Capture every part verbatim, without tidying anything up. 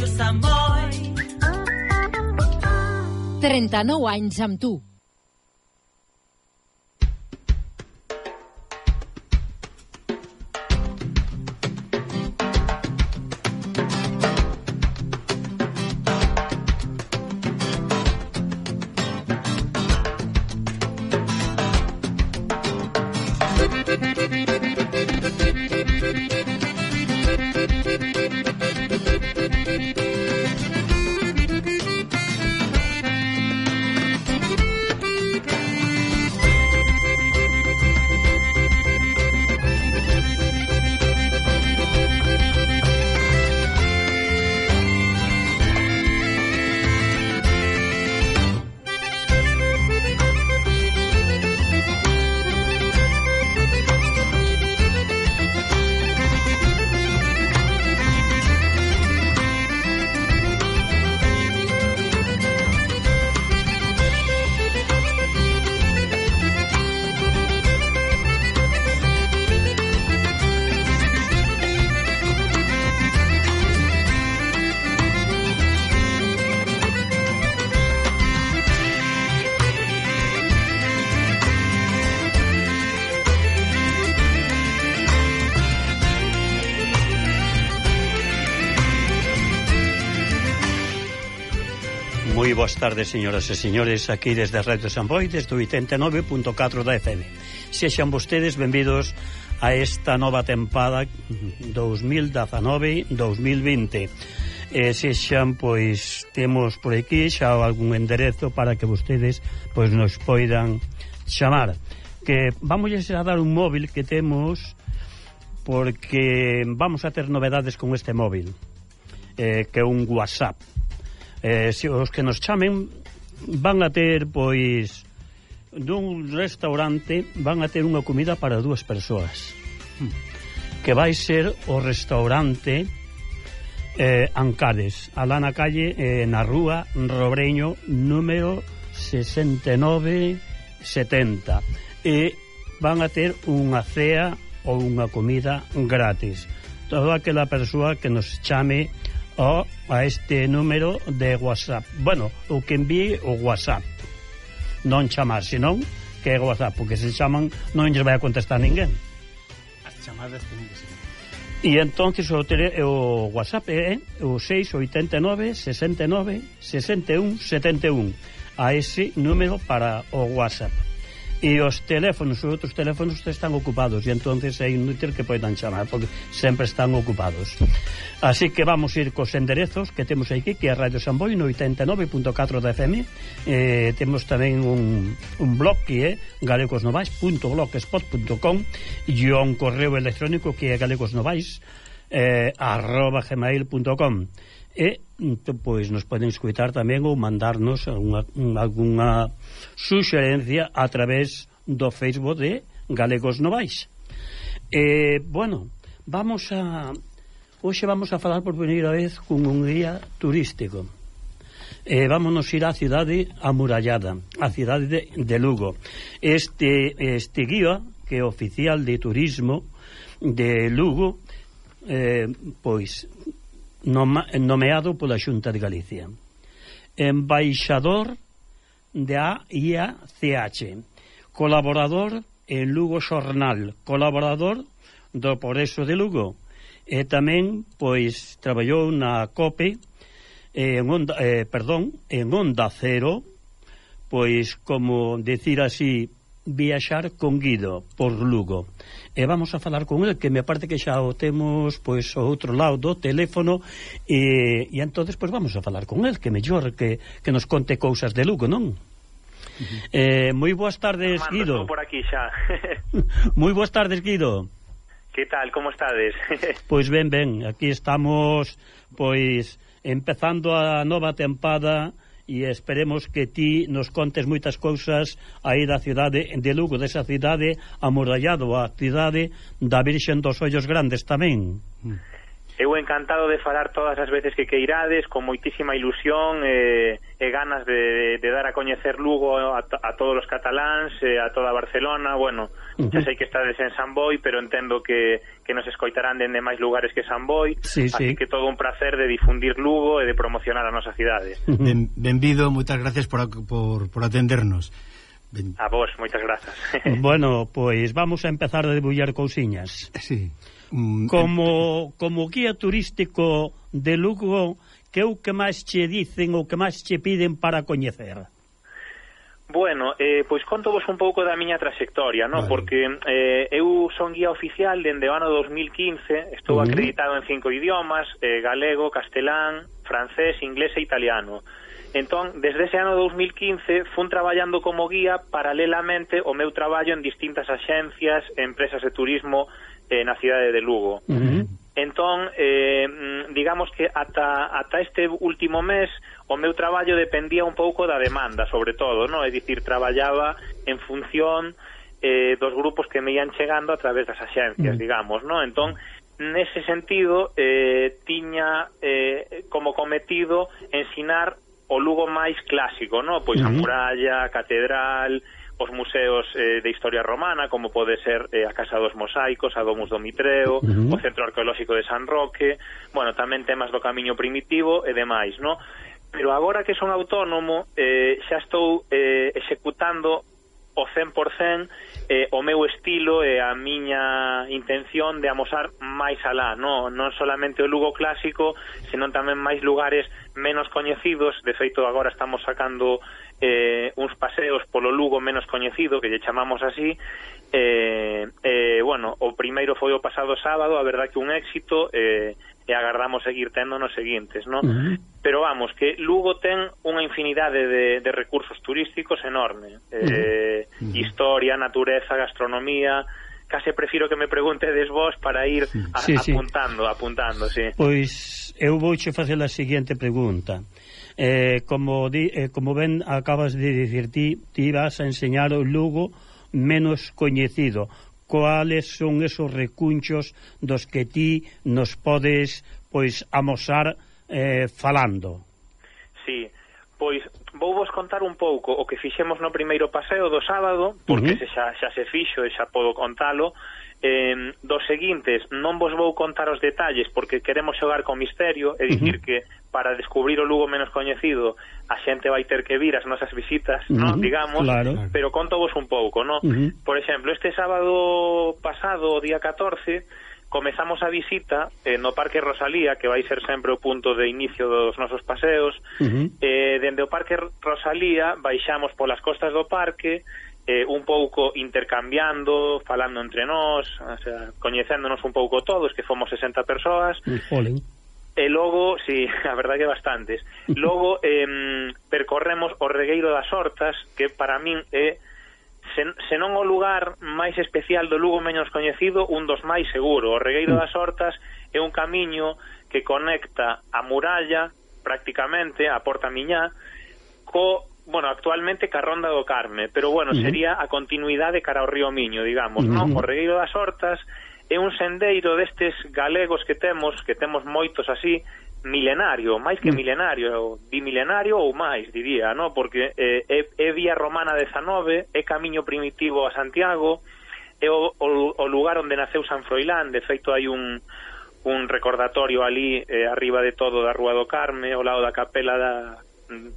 Ràdio Sant Boi. trenta-nou anys amb tu. Moi boas tardes, señoras e señores, aquí desde a Radio Sant Boi, desde o oitenta e nove punto catro da F M. Sexan vostedes benvidos a esta nova tempada dos mil dezanove dos mil vinte. E sexan, pois, temos por aquí xa algún enderezo para que vostedes, pois, nos poidan chamar. Que vamos a dar un móvil que temos, porque vamos a ter novedades con este móvil, eh, que é un WhatsApp. Eh, se os que nos chamen van a ter, pois, dun restaurante, van a ter unha comida para dúas persoas, que vai ser o restaurante eh, Ancares, alá na calle, eh, na rúa Robreño número sesenta e nove setenta, e van a ter unha cea ou unha comida gratis. Toda aquela persoa que nos chame o a este número de WhatsApp, bueno, o que envíe o WhatsApp, non chamar, senón que é WhatsApp, porque se chaman non lles vai a contestar ninguén. As chamadas teñen que ser. E entonces o, tele, o WhatsApp é o seis oito nove, sesenta e nove, sesenta e un, setenta e un, a ese número para o WhatsApp. E os teléfonos, os outros teléfonos están ocupados, e entonces é inútil que poidan chamar, porque sempre están ocupados. Así que vamos ir cos enderezos que temos aquí, que é Radio Sant Boi no oitenta e nove punto catro da F M. Eh, temos tamén un, un blog que é galegosnovais punto blogspot punto com e un correo electrónico que é galegosnovais eh, arroba gmail punto com. E pois nos poden escutar tamén ou mandarnos unha, alguna suxerencia a través do Facebook de Galegos Novais. E, bueno, vamos a hoxe vamos a falar por primeira vez con un guía turístico. E vámonos ir á cidade amurallada, a cidade de, de Lugo. Este, este guía, que é oficial de turismo de Lugo, eh, pois nomeado pola Xunta de Galicia, embaixador de A I A C H, colaborador en Lugo Xornal, colaborador do Progreso de Lugo, e tamén, pois, traballou na COPE, en Onda, eh, perdón, en Onda Cero, pois, como decir así, viaxar con Guido por Lugo. E vamos a falar con ele, que me parece que xa o temos, pois, ao outro lado do teléfono, e, e entonces pois vamos a falar con ele, que mellor que, que nos conte cousas de Lugo, non? Uh-huh. eh, moi boas tardes, Armando, Guido. estou por aquí xa. Moi boas tardes, Guido. Que tal, como estades? Pois ben, ben, aquí estamos, pois, empezando a nova tempada, e esperemos que ti nos contes moitas cousas aí da cidade de Lugo, desa cidade amurallado, a cidade da Virxen dos Ollos Grandes tamén. eu encantado de falar todas as veces que queirades, con moitísima ilusión e, e ganas de, de dar a coñecer Lugo a, a todos os cataláns, a toda Barcelona. Bueno, uh-huh. xa sei que estades en San Boi, pero entendo que, que nos escoitarán dende máis lugares que San Boi, sí, así sí. que todo un placer de difundir Lugo e de promocionar a nosa cidade. Uh-huh. Ben, benvido, moitas gracias por, por, por atendernos. Ben... A vos, moitas grazas. Bueno, pois vamos a empezar a debullar cousiñas. Sí. Mm, Como, como guía turístico de Lugo, que é o que máis che dicen ou que máis che piden para coñecer? Bueno, eh, pois conto vos un pouco da miña trayectoria, ¿no? Vale. Porque eh, eu son guía oficial dende o ano dos mil quince, estou uh-huh. acreditado en cinco idiomas, eh, galego, castelán, francés, inglés e italiano. Entón, desde ese ano dos mil quince fun traballando como guía paralelamente ao meu traballo en distintas axencias e empresas de turismo eh, na cidade de Lugo. Uh-huh. Entón, eh, digamos que ata, ata este último mes o meu traballo dependía un pouco da demanda, sobre todo, ¿no? É dicir, traballaba en función eh, dos grupos que me ian chegando a través das axencias, uh-huh. digamos, ¿no? Entón, nese sentido, eh, tiña eh, como cometido ensinar o Lugo máis clásico, ¿no? Pois uh-huh. a muralla, a catedral, os museos eh, de historia romana, como pode ser eh, a Casa dos Mosaicos, a Domus do Mitreo, uh-huh. o Centro Arqueolóxico de San Roque, bueno, tamén temas do Camiño Primitivo e demais, ¿no? Pero agora que son autónomo, eh, xa estou eh, executando o cen por cen eh, o meu estilo e a miña intención de amosar máis alá, no? Non solamente o Lugo clásico, senón tamén máis lugares menos coñecidos. De feito, agora estamos sacando eh, uns paseos polo Lugo menos coñecido, que lle chamamos así. Eh, eh, bueno, o primeiro foi o pasado sábado, a verdad que un éxito, eh, e agardamos seguir tendo nos seguintes, ¿no? Uh-huh. Pero vamos, que Lugo ten unha infinidade de, de recursos turísticos enorme. Eh, uh-huh. Historia, natureza, gastronomía. Case prefiro que me preguntedes vos para ir a, sí, apuntando, sí. apuntando, sí. Pois eu vouche facer a seguinte pregunta. Eh, como, di, eh, como ben acabas de dicir ti, ti vas a enseñar o Lugo menos coñecido. Cuáles son esos recunchos dos que ti nos podes pois amosar eh, falando? Sí, pois vou vos contar un pouco o que fixemos no primeiro paseo do sábado, porque uh-huh. xa, xa se fixo e xa podo contalo. Eh, dos seguintes non vos vou contar os detalles porque queremos xogar con misterio, é dicir uh-huh. que para descubrir o Lugo menos coñecido a xente vai ter que vir as nosas visitas, uh-huh. ¿no? digamos, claro. pero conto vos un pouco, ¿no? Uh-huh. Por exemplo, este sábado pasado, o día catorce, comezamos a visita eh, no Parque Rosalía, que vai ser sempre o punto de inicio dos nosos paseos. Uh-huh. eh, dende o Parque Rosalía baixamos polas costas do parque, eh, un pouco intercambiando, falando entre nós, o sea, coñecéndonos un pouco todos, que fomos sesenta persoas. Olen. E logo, sí, a verdade que bastantes. Logo eh, percorremos o Regueiro das Hortas, que para min é, sen, senón o lugar máis especial do Lugo menos coñecido, un dos máis seguro. O Regueiro das Hortas é un camiño que conecta a muralla, prácticamente, a Porta Miñá, co, bueno, actualmente ca Ronda do Carme, pero bueno, uh-huh. sería a continuidade cara ao río Miño, digamos, uh-huh. non? O Regueiro das Hortas é un sendeiro destes galegos que temos, que temos moitos así, milenario, máis que milenario, bimilenario ou máis, diría, no? Porque eh, é, é vía romana dezanove, é camiño primitivo a Santiago, é o, o, o lugar onde naceu San Froilán. De feito, hai un, un recordatorio ali eh, arriba de todo da Rúa do Carme, ao lado da capela da,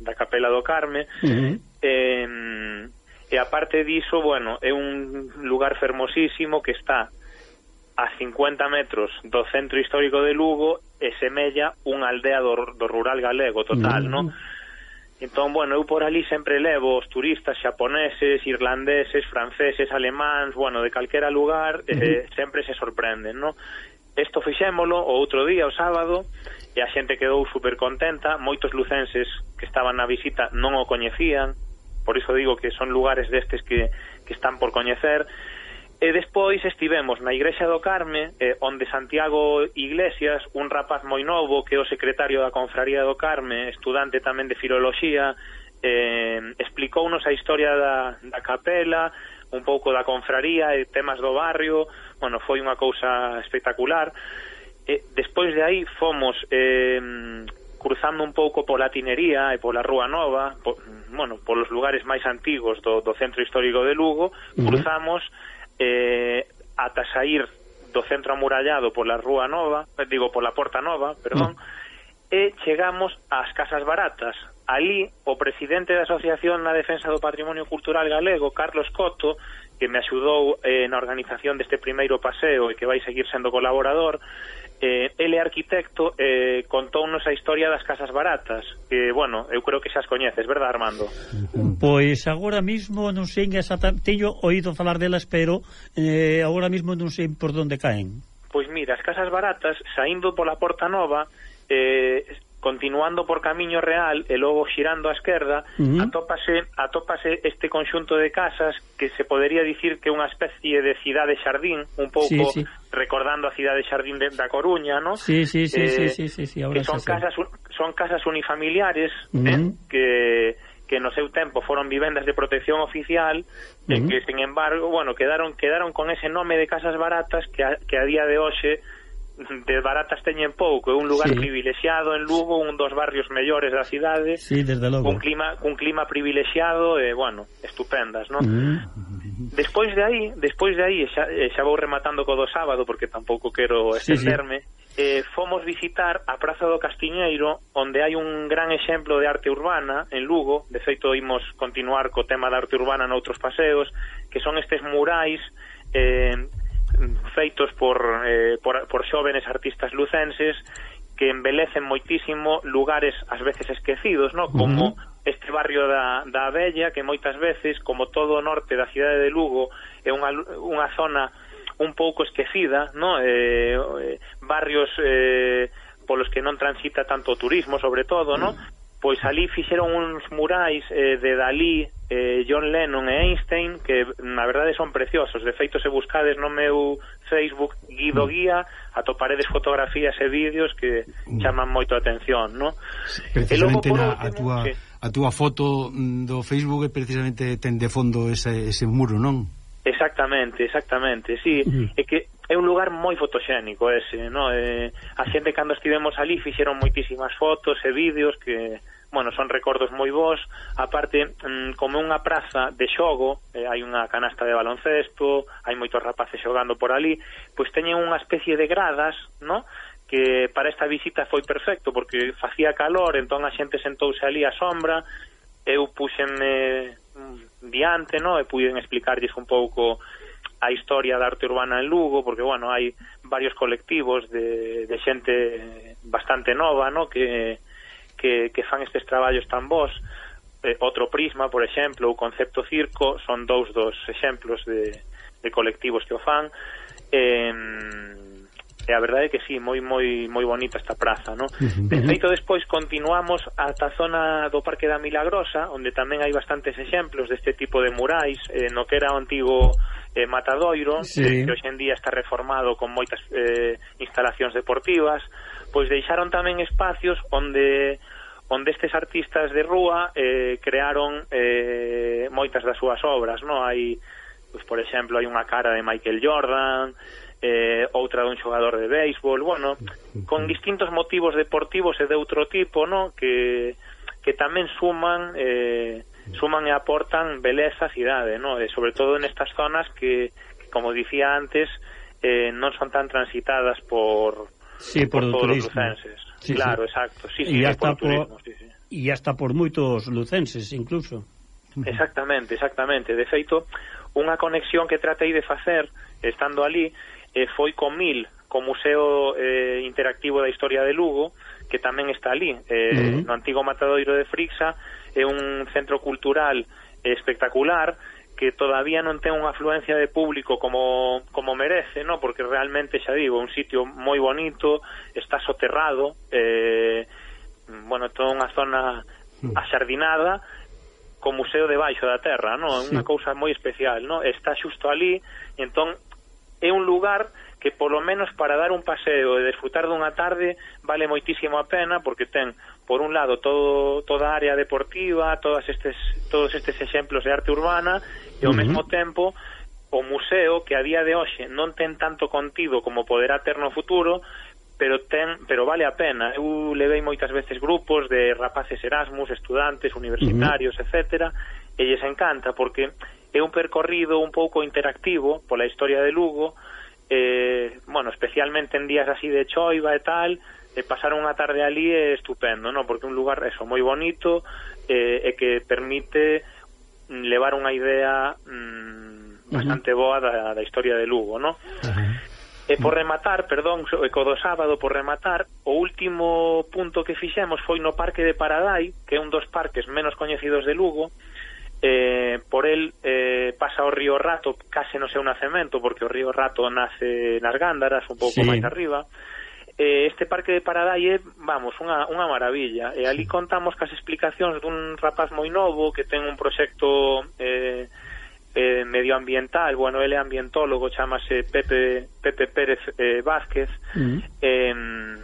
da capela do Carme. Uh-huh. eh, e aparte diso, bueno, é un lugar fermosísimo que está a cincuenta metros do centro histórico de Lugo e semella unha aldea do, do rural galego total, uh-huh. no? Entón, bueno, eu por ali sempre levo os turistas xaponeses, irlandeses, franceses, alemáns, bueno, de calquera lugar, uh-huh. eh, sempre se sorprenden, no? Isto fixémolo o outro día, o sábado, e a xente quedou super contenta. Moitos lucenses que estaban na visita non o coñecían, por iso digo que son lugares destes que, que están por coñecer. E despois estivemos na Igrexa do Carme, eh, onde Santiago Iglesias, un rapaz moi novo que é o secretario da Confraría do Carme, estudante tamén de Filoloxía, eh, explicounos a historia da, da capela, un pouco da confraría e temas do barrio. Bueno, foi unha cousa espectacular. eh, despois de aí fomos eh, cruzando un pouco pola Tinería e pola Rúa Nova, po, bueno, polos lugares máis antigos do, do centro histórico de Lugo, cruzamos eh, ata saír do centro amurallado pola Rúa Nova, digo, pola Porta Nova, perdón, uh. e chegamos ás Casas Baratas. Ali, o presidente da Asociación na Defensa do Patrimonio Cultural Galego, Carlos Coto, que me axudou eh, na organización deste primeiro paseo e que vai seguir sendo colaborador, eh, ele é arquitecto, eh, contounos a historia das Casas Baratas, que, bueno, eu creo que xa as coñeces, verdad, Armando? Pois agora mismo non sei exactamente, teño oído falar delas, pero eh, agora mismo non sei por onde caen. Pois mira, as Casas Baratas, saindo pola Porta Nova, eh, continuando por Camiño Real e logo xirando á esquerda, uh-huh. atópase, atópase este conxunto de casas que se podería dicir que é unha especie de cidade xardín, un pouco sí, sí. recordando a cidade xardín de, da Coruña, ¿no? Sí, sí, sí, eh, sí, sí, sí, sí, ahora que son casas, son casas unifamiliares, uh-huh. eh, que que no seu tempo foron vivendas de protección oficial, uh-huh. e que, sin embargo, bueno, quedaron quedaron con ese nome de Casas Baratas que a, que a día de hoxe de baratas teñen pouco, é un lugar sí. privilexiado en Lugo, un dos barrios mellores da cidade, sí, desde logo. un clima un clima privilexiado e, bueno, estupendas, non? Mm. Despois de aí, despois de aí, xa, xa vou rematando co do sábado porque tampouco quero estenderme, sí, sí. Eh, fomos visitar a Praza do Castiñeiro, onde hai un gran exemplo de arte urbana en Lugo. De feito, imos continuar co tema da arte urbana noutros paseos, que son estes murais eh, feitos por, eh, por, por xóvenes artistas lucenses que embelecen moitísimo lugares ás veces esquecidos, ¿no? Como uh-huh. este barrio da, da Abella, que moitas veces, como todo o norte da cidade de Lugo, é unha, unha zona un pouco esquecida, ¿no? Eh, eh, barrios eh, polos que non transita tanto o turismo, sobre todo, ¿no? Uh-huh. Pois ali fixeron uns murais eh, de Dalí, eh, John Lennon e Einstein que na verdade son preciosos. De feito, se buscades no meu Facebook Guido Guía, atoparedes fotografías e vídeos que chaman moito a atención, ¿no? Precisamente logo, na, último, a, túa, sí. a túa foto do Facebook precisamente ten de fondo ese, ese muro, non? Exactamente, exactamente, sí, uh-huh. é que é un lugar moi fotoxénico ese, no? Eh, a xente cando estivemos ali fixeron moitísimas fotos e vídeos que, bueno, son recordos moi bons. Aparte, mm, como unha praza de xogo, eh, hai unha canasta de baloncesto, hai moitos rapaces xogando por ali, pois teñen unha especie de gradas, no? Que para esta visita foi perfecto porque facía calor, entón a xente sentouse ali á sombra, eu puxenme diante, no? E puiden explicarlles un pouco a historia da arte urbana en Lugo, porque, bueno, hai varios colectivos de, de xente bastante nova, no? Que, que, que fan estes traballos tan bons. Eh, outro Prisma, por exemplo, o Concepto Circo, son dous dos exemplos de, de colectivos que o fan. Eh, e a verdade é que sí, moi moi moi bonita esta praza, no? De feito, despois continuamos ata a zona do Parque da Milagrosa, onde tamén hai bastantes exemplos deste tipo de murais, eh, no que era o antigo eh, Matadoiro, sí. que, que hoxe en día está reformado con moitas eh, instalacións deportivas. Pois deixaron tamén espacios onde onde estes artistas de rúa eh, crearon eh, moitas das súas obras, no? Hai, pois, por exemplo, hai unha cara de Michael Jordan, eh, outra dun xogador de béisbol, bueno, con distintos motivos deportivos e de outro tipo, no? Que, que tamén suman eh, suman e aportan beleza á cidade, no? E sobre todo nestas zonas que, que como dicía antes, eh, non son tan transitadas por, sí, por, por todos os lucenses. Sí, claro, sí. exacto. Sí, sí, sí, hasta por turismo, por, sí, sí. E hasta por moitos lucenses, incluso. Exactamente, exactamente. De feito, unha conexión que tratei de facer estando ali eh, foi co MIL, co Museo eh, Interactivo da Historia de Lugo, que tamén está ali, eh, uh-huh. no antigo Matadoiro de Frixa. É un centro cultural eh, espectacular que todavía non ten unha afluencia de público como, como merece, no? Porque realmente, xa digo, un sitio moi bonito, está soterrado, eh, bueno, toda unha zona axardinada, co museo debaixo da terra, no? É unha sí. cousa moi especial, no? Está xusto ali, entón é un lugar que polo menos para dar un paseo e desfrutar dunha tarde vale moitísimo a pena, porque ten, por un lado, todo toda a área deportiva, todas estes todos estes exemplos de arte urbana, e ao uh-huh. mesmo tempo o museo, que a día de hoxe non ten tanto contido como poderá ter no futuro, pero ten, pero vale a pena. Eu levei moitas veces grupos de rapaces Erasmus, estudantes, universitarios, uh-huh. etcétera, e lles encanta porque é un percorrido un pouco interactivo pola historia de Lugo, eh, bueno, especialmente en días así de choiva e tal, e pasar unha tarde ali é estupendo, ¿no? Porque é un lugar eso moi bonito eh, e que permite levar unha idea mm, bastante uh-huh. boa da, da historia de Lugo, ¿no? Uh-huh. E por rematar, perdón, e co do sábado por rematar, o último punto que fixemos foi no Parque de Paradai, que é un dos parques menos coñecidos de Lugo. Eh, por el eh, pasa o río Rato case no seu nacemento, porque o río Rato nace nas Gándaras, un pouco sí. máis arriba. Eh, este Parque de Paradai é, vamos, unha, unha maravilla. E ali contamos cas explicacións dun rapaz moi novo que ten un proxecto eh, eh, medioambiental, bueno, ele é ambientólogo, chamase Pepe, Pepe Pérez eh, Vázquez, mm. eh,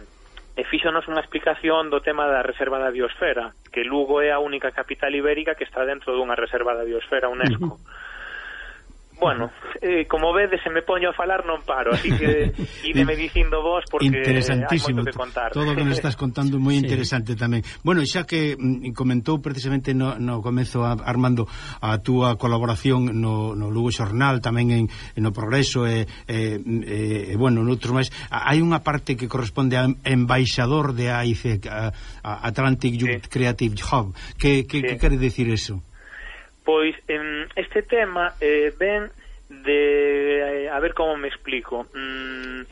e fíxonos unha explicación do tema da reserva da biosfera, que Lugo é a única capital ibérica que está dentro dunha reserva da biosfera UNESCO. Mm-hmm. Bueno, eh, como vedes, se me poño a falar non paro, así que ideme dicindo vos porque hai moito que contar. Todo o que nos estás contando moi sí. interesante tamén. Bueno, xa que mm, comentou precisamente no, no comezo a, Armando a túa colaboración no, no Lugo Xornal, tamén en, en no Progreso e, e, e, e bueno, noutros máis, hai unha parte que corresponde a embaixador de A I C, a, a Atlantic Youth sí. Creative Hub. Que, que, sí. que quere decir eso? Pois en este tema eh, ven de... Eh, a ver como me explico. Mm,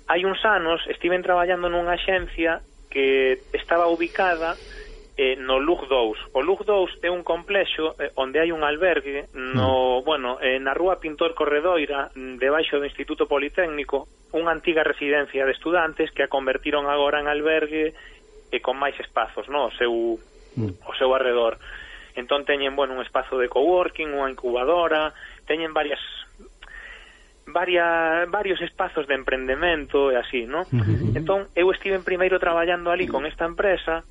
hai uns anos estiven traballando nunha axencia que estaba ubicada eh, no Lug dous. O Lug dous é un complexo eh, onde hai un albergue no, mm. bueno, eh, na rúa Pintor Corredoira, debaixo do Instituto Politécnico, unha antiga residencia de estudantes que a convertiron agora en albergue e con máis espazos, no, o seu, mm. o seu arredor. Entón teñen, bueno, un espazo de coworking, unha incubadora, teñen varias varias varios espazos de emprendemento e así, ¿no? Uh-huh. Entón eu estive primeiro traballando ali con esta empresa.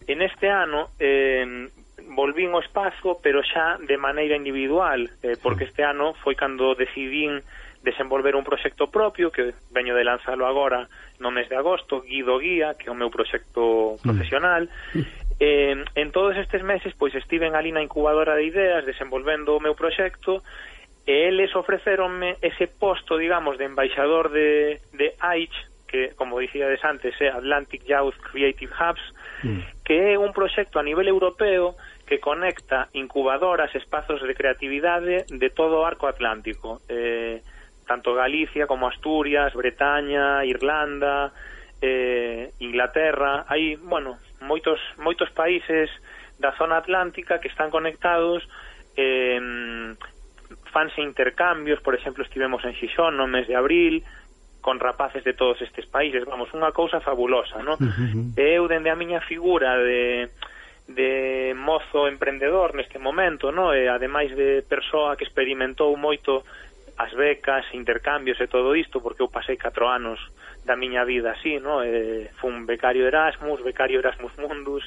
En este ano eh, volvín ao espazo, pero xa de maneira individual, eh, porque este ano foi cando decidín desenvolver un proxecto propio que veño de lanzalo agora no mes de agosto, Guido Guía, que é o meu proxecto profesional. Uh-huh. Eh, en todos estes meses pois estiven ali na incubadora de ideas desenvolvendo o meu proxecto e eles ofreceronme ese posto, digamos, de embaixador de, de A I C, que, como dicíades antes, é Atlantic Youth Creative Hubs, mm. que é un proxecto a nivel europeo que conecta incubadoras, espazos de creatividade de todo o arco atlántico, eh, tanto Galicia como Asturias, Bretaña, Irlanda, eh, Inglaterra. Hai, bueno, moitos moitos países da zona atlántica que están conectados, eh, fanse intercambios, por exemplo, estivemos en Xixón no mes de abril con rapaces de todos estes países, vamos, unha cousa fabulosa, ¿no? Uh-huh. Eu, dende a miña figura de, de mozo emprendedor neste momento, ¿no? E ademais de persoa que experimentou moito as becas, intercambios e todo isto, porque eu pasei catro anos da miña vida así, ¿no? E fun becario Erasmus, becario Erasmus Mundus,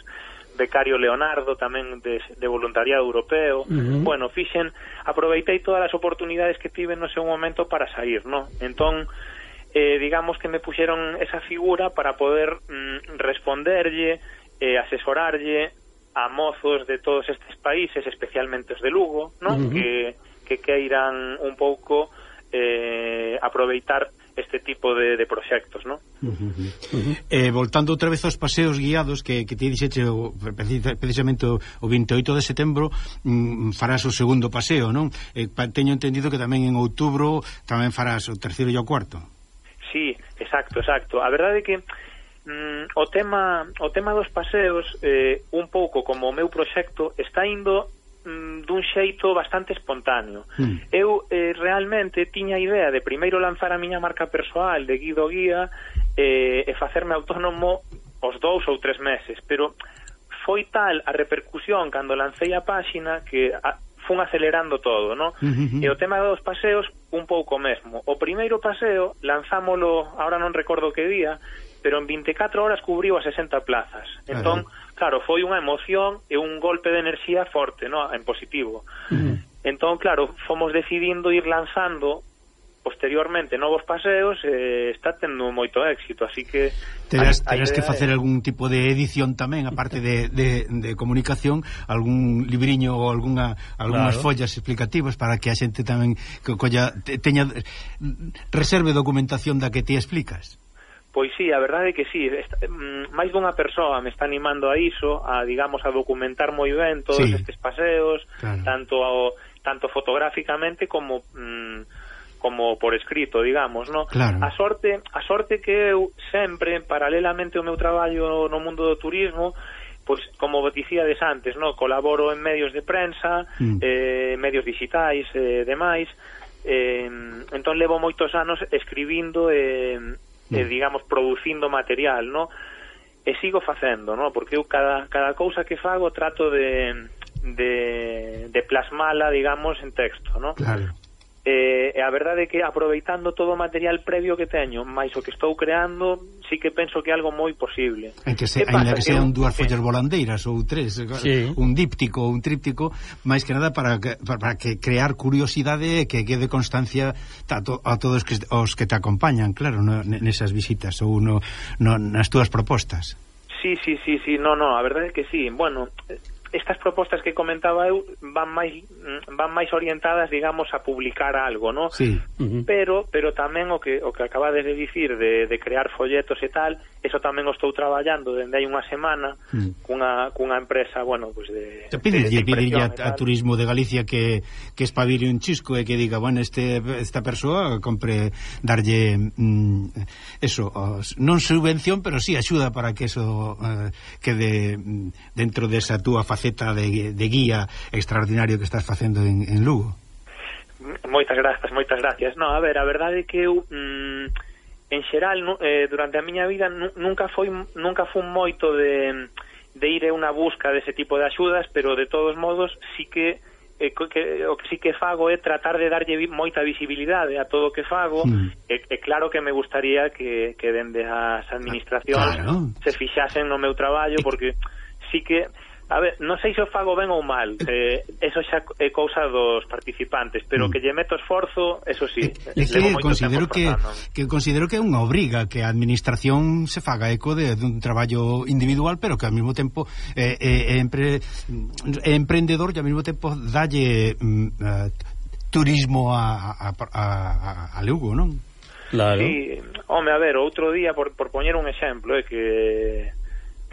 becario Leonardo, tamén de, de voluntariado europeo. Uh-huh. Bueno, fixen, aproveitei todas as oportunidades que tive no seu momento para sair, ¿no? Entón, eh, digamos que me puxeron esa figura para poder mm, responderlle, eh, asesorarlle a mozos de todos estes países, especialmente os de Lugo, ¿no? Uh-huh. Que que queiran un pouco eh, aproveitar este tipo de, de proxectos, ¿no? Uh-huh. Uh-huh. Eh, voltando outra vez aos paseos guiados que, que te dixeche o, precisamente o, o veintioito de setembro, mm, farás o segundo paseo, non? Eh, teño entendido que tamén en outubro tamén farás o terceiro e o cuarto. Sí, exacto, exacto. A verdade é que mm, o tema o tema dos paseos, eh, un pouco como o meu proxecto, está indo dun xeito bastante espontáneo. Mm. Eu eh, realmente tiña a idea de primeiro lanzar a miña marca persoal de Guido Guía eh, e facerme autónomo os dous ou tres meses, pero foi tal a repercusión cando lancei a páxina que a, fun acelerando todo, ¿no? Mm-hmm. E o tema dos paseos un pouco mesmo. O primeiro paseo lanzámolo, ahora non recordo que día, pero en veinticuatro horas cubriu a sesenta plazas. Entón, claro, foi unha emoción e un golpe de enerxía forte, ¿no? En positivo. Uh-huh. Entón, claro, fomos decidindo ir lanzando posteriormente novos paseos, eh, está tendo moito éxito, así que terás, terás que facer algún tipo de edición tamén, aparte de, de, de comunicación, algún libriño ou algunha, algunhas claro. follas explicativas para que a xente tamén que colla, teña reserve documentación da que ti explicas. Pois sí, a verdade é que sí, esta, máis dunha persoa me está animando a iso, a, digamos, a documentar moi ben todos sí. estes paseos, claro. tanto ao, tanto fotográficamente como mmm, como por escrito, digamos, no? Claro. A sorte, a sorte que eu sempre, paralelamente ao meu traballo no mundo do turismo, pois, como dicíades antes, no? Colaboro en medios de prensa, mm. eh, medios digitais e eh, demais, eh, entón levo moitos anos escribindo e, eh, mm. eh, digamos, producindo material, no? E sigo facendo, no? Porque eu cada, cada cousa que fago trato de, de, de plasmala, digamos, en texto, no? Claro. E eh, a verdade é que aproveitando todo o material previo que teño, máis o que estou creando, sí que penso que é algo moi posible. En que, se, ainda que sean dúas follas volandeiras ou tres, sí. un díptico ou un tríptico, máis que nada para que, para que crear curiosidade e que quede constancia a, to, a todos que, os que te acompañan, claro, no, nesas visitas ou no, no, nas túas propostas. Sí, sí, sí, sí, no, no, a verdade é que sí. Bueno, estas propostas que comentaba eu van máis van máis orientadas, digamos, a publicar algo, ¿no? Sí. Uh-huh. Pero pero tamén o que o que acabades de dicir de, de crear folletos e tal, eso tamén o estou traballando dende hai unha semana uh-huh. cunha cunha empresa, bueno, pues de te pide de, de a, a Turismo de Galicia que que espabile un chisco e que diga, bueno, este esta persoa compre darlle mm, eso, os, non subvención, pero sí axuda para que eso uh, quede mm, dentro desa túa faceta De, de guía extraordinario que estás facendo en, en Lugo. Moitas grazas, moitas gracias. No, a ver, a verdade é que eu mm, en xeral no, eh, durante a miña vida nunca foi nunca fun moito de, de ir a unha busca dese tipo de axudas, pero de todos modos sí que eh, que, o que sí que fago é tratar de darlle moita visibilidade a todo o que fago, mm. e, e claro que me gustaría que, que dende as administracións claro. se fixasen no meu traballo, porque sí que a ver, non sei se o fago ben ou mal, eh, eso xa é cousa dos participantes, pero mm. que lle meto esforzo, eso sí. É que considero que, que considero que é unha obriga que a administración se faga eco de, de un traballo individual, pero que ao mesmo tempo é eh, eh, empre, eh, emprendedor e ao mesmo tempo dalle mm, uh, turismo a, a, a, a Lugo, non? Claro. Sí, home, a ver, outro día, por, por poñer un exemplo, é eh, que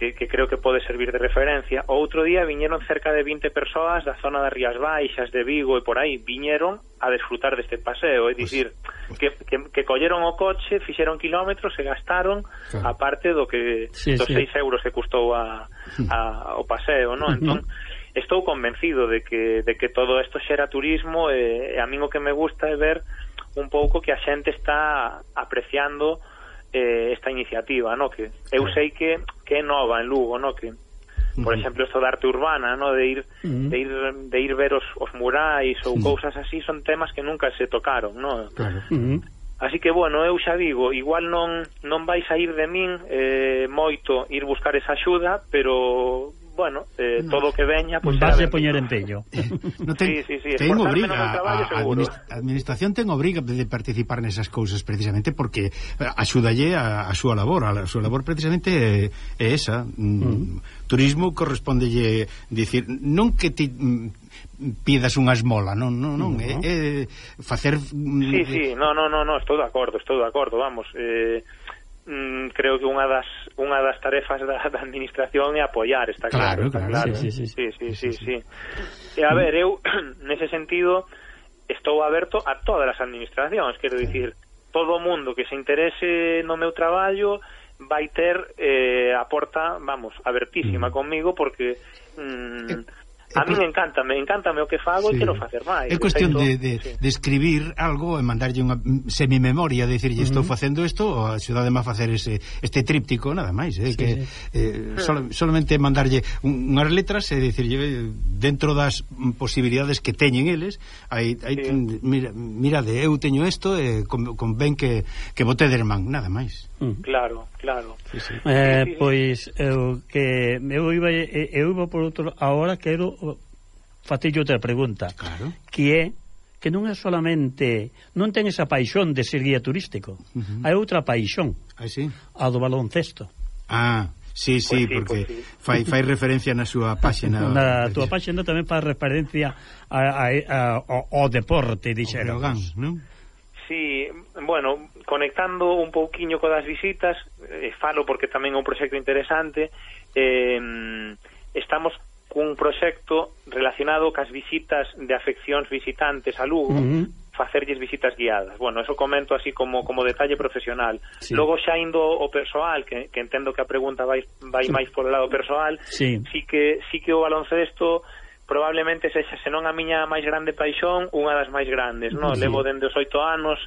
Que, que creo que pode servir de referencia. O outro día viñeron cerca de vinte persoas da zona das Rías Baixas, de Vigo e por aí, viñeron a desfrutar deste paseo, é dicir, pues, que, que, que colleron o coche, fixeron kilómetros e gastaron claro. a parte do que sí, dos sí. seis euros que custou a, a, o paseo, non? Entón, estou convencido de que, de que todo isto xera turismo e, e a min o que me gusta é ver un pouco que a xente está apreciando Eh, esta iniciativa, no, que eu sei que, que é nova en Lugo, no, que por exemplo isto da arte urbana, no, de ir uh-huh. de ir de ir ver os, os murais ou uh-huh. cousas así, son temas que nunca se tocaron, no. Claro. Uh-huh. Así que bueno, eu xa digo, igual non non vai sair de min eh, moito ir buscar esa axuda, pero bueno, eh, todo o que veña pues, vas a poñer empeño. No ten, sí, sí, sí, ten obriga traballo, a, a administración ten obriga de participar nesas cousas precisamente porque axúdalle a, a súa labor, a, a súa labor precisamente é, é esa. Mm. Turismo correspondelle dicir, non que ti mm, pidas unha esmola, non, non, non, uh-huh. é, é facer Sí, sí, no, no, no, no, estou de acordo, estou de acordo, vamos, eh Mm, creo que unha das unha das tarefas da, da administración é apoiar, está claro, claro, está claro. Sí, sí, sí, sí, sí, sí. E a ver, eu nese sentido estou aberto a todas as administracións, quero dicir, todo o mundo que se interese no meu traballo vai ter eh, a porta, vamos, abertísima mm. conmigo, porque mm, a mí me encanta, me encanta o que fago sí. e quero facer máis. É cuestión de, de, sí. de escribir algo e mandarlle unha semimemoria, decirlle uh -huh. estou facendo isto, ou axudademe a facer ese, este tríptico, nada máis, eh, sí, que sí. Eh, sol, solamente mandarlle un, unhas letras e decirlle dentro das posibilidades que teñen eles, hai, hai sí. mira, mirade, eu teño isto e con, con ben que, que bote de man, nada máis. Claro, claro. Sí, sí. Eh, pois eu que eu iba eu iba por outro, agora quero facille outra pregunta. Claro. Que é que non é solamente, non ten esa paixón de ser guía turístico, uh-huh. hai outra paixón, ah, sí? a do baloncesto. Ah, sí, sí, pues sí porque pues sí. fai, fai referencia na súa páxina. Na túa páxina tamén fai referencia a, a, a, ao, ao deporte, dixéramos, non? Sí, bueno, conectando un pouquiño co das visitas, eh, falo porque tamén é un proxecto interesante, eh, estamos cun proxecto relacionado cas visitas de afeccións visitantes a Lugo, uh-huh. facerlles visitas guiadas. Bueno, eso comento así como como detalle profesional. Sí. Logo xa indo o persoal, que, que entendo que a pregunta vai, vai sí. máis polo lado persoal, sí. sí que sí que o baloncesto probablemente sexa, senón a miña máis grande paixón, unha das máis grandes, non? Sí. Levo dende os oito anos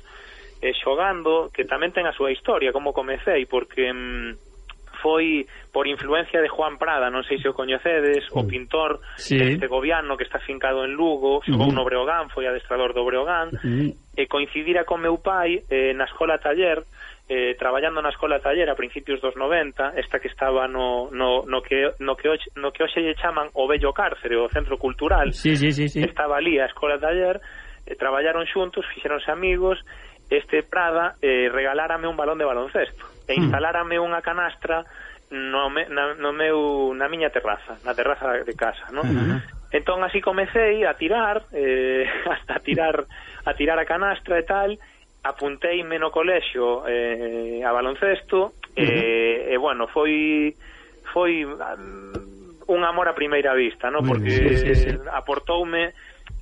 eh, xogando, que tamén ten a súa historia, como comecei, porque... Mm, foi por influencia de Juan Prada, non sei se o coñecedes, uh, o pintor sí. este gobiano que está fincado en Lugo, xogou uh -huh. no Breogán, foi adestrador do Breogán, uh -huh. e coincidira con meu pai eh, na escola taller, eh, traballando na escola taller a principios dos noventa, esta que estaba no, no, no que no que hoxe, no que hoxe lle chaman o Bello Cárcere, o centro cultural, sí, sí, sí, sí. estaba ali a escola taller, eh, traballaron xuntos, fixeronse amigos. Este Prada eh, regalárame un balón de baloncesto e instalárame unha canastra no, me, na, no meu, na miña terraza, na terraza de casa, ¿no? Uh-huh. Entón así comecei a tirar, eh, a tirar a tirar a canastra e tal, apunteime no colexio eh, a baloncesto, uh-huh. e, e bueno, foi foi um, un amor a primeira vista, ¿no? Porque sí, sí, sí. aportoume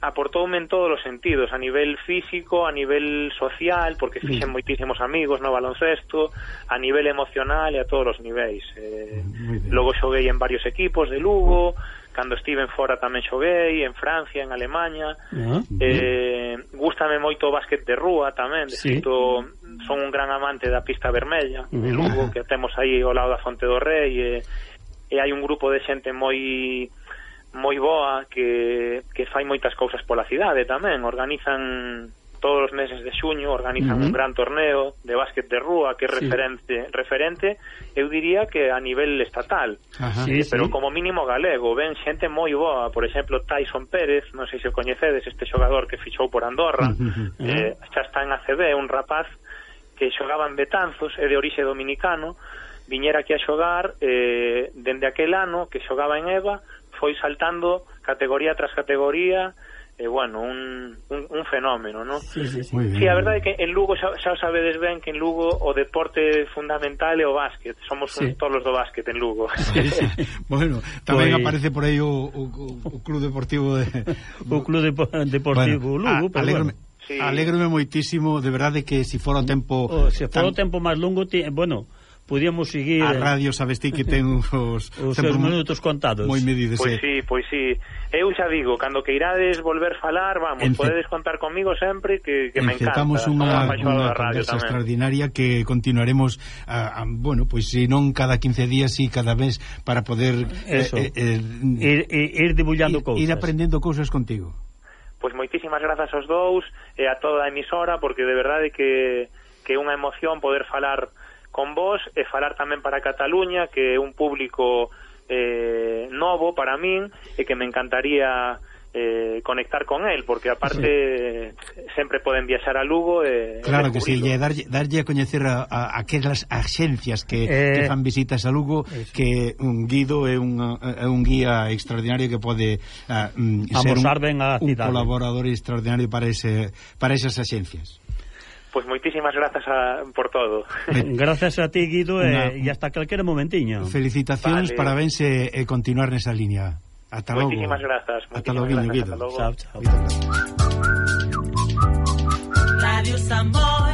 aportoume en todos os sentidos, a nivel físico, a nivel social, porque fixen mm. moitísimos amigos no baloncesto, a nivel emocional e a todos os niveis. Eh, logo xoguei en varios equipos de Lugo, cando estive en fora tamén xoguei, en Francia, en Alemanha. Uh-huh. eh, gústame moito o básquet de rúa tamén, de sí. feito, son un gran amante da pista vermella uh-huh. de Lugo, que temos aí ao lado da Fonte do Rei, e, e hai un grupo de xente moi... moi boa que, que fai moitas cousas pola cidade tamén, organizan todos os meses de xuño, organizan uh-huh. un gran torneo de básquet de rúa que é sí. referente, referente, eu diría que a nivel estatal, uh-huh. sí, pero sí. como mínimo galego, ven xente moi boa, por exemplo Tyson Pérez, non sei se o coñecedes, este xogador que fichou por Andorra, uh-huh. eh, xa está en A C B, un rapaz que xogaba en Betanzos, é de orixe dominicano, viñera aquí a xogar, eh, dende aquel ano que xogaba en Eva, foi saltando categoría tras categoría, e eh, bueno, un, un, un fenómeno, ¿no? Sí, sí, sí. sí, a verdade é que en Lugo xa, xa sabedes ben que en Lugo o deporte fundamental é o básquet, somos sí. todos do básquet en Lugo. Sí, sí. Bueno, tamén pues... aparece por aí o, o, o Club Deportivo de... o Club Depo Deportivo bueno, Lugo, a, pero bueno. Sí. Alégrome moitísimo, de verdade que se si fora o tempo... O, se fora o tempo máis longo, ti, bueno... podíamos seguir... A radio, sabes ti que ten os... os seus minutos contados. Moi medidos. Pois sí, pois sí. Eu xa digo, cando que irades volver falar, vamos, Ence... podedes contar conmigo sempre, que, que me encanta. Encetamos unha, unha conversa extraordinaria que continuaremos, a, a, bueno, pois pues, se non cada quince días, si cada vez, para poder... Eso, eh, eh, ir, ir debullando cousas. Ir aprendendo cousas contigo. Pois moitísimas grazas aos dous e a toda a emisora, porque de verdade que, que é unha emoción poder falar con vos e falar tamén para Cataluña, que é un público eh, novo para min e que me encantaría eh, conectar con él, porque aparte sí. sempre poden viaxar a Lugo e claro que sí, e darlle, darlle a coñecer a, a aquelas axencias que, eh, que fan visitas a Lugo, eso. Que un guido é un, é un guía extraordinario que pode uh, ser un, un colaborador extraordinario para, ese, para esas axencias. Pois pues moitísimas grazas a, por todo. Gracias a ti, Guido, e eh, hasta calquera momentiño. Felicitacións, vale. Parabéns e eh, continuar nesa línea. Ata logo. Moitísimas grazas. Ata logo, Guido. Chao, chao. Radio Samboy.